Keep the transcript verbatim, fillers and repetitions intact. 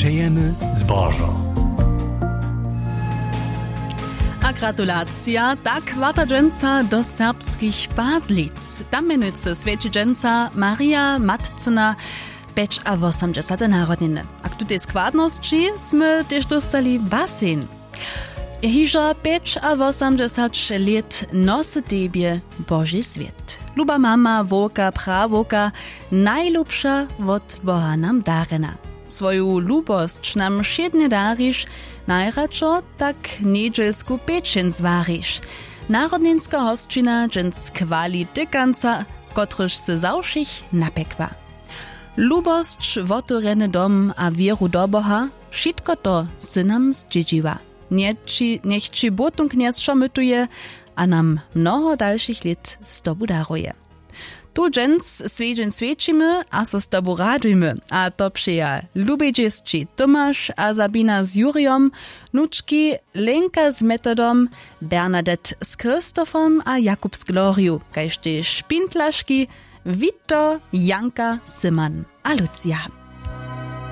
Pejemy zbožo. A gratulacija, tak warta dźensa do serbskich Pazlic. Tam mjenujcy swjeći dźensa Marija Matcyna pjećawosomdźesate narodniny. A k tutej składnosći smy tež dóstali basen. Hižo pjećawosomdźesać lět nosy tebje Boži swět. Luba mama, wowka, prawowka, najlubša wot Boha nam darjena. Swoju lubosć nam wšědnje dariš, najradšo tak njedźelsku pečeń zwariš. Narodninska hosćina dźens chwali tykanca, kotryž sy za wšěch napjekła. Lubosć, wotewrjeny dom a wěru do Boha, wšitko to sy nam zdźědźiła. Njeći, njech ći Bótun Knjez wšo mytuje a nam mnoho dalšich lět z tobu daruje. Tu dźens swjedźeń swjećimy a so z tobu radujmy, a to přeja lubej dźěsći Tomaš a Sabina z Jurijom, wnučki Lenka z Metodom, Bernadette z Christophom a Jakub z Gloriju, kaž tež špintlaški Wito, Janka, Simon a Lucia.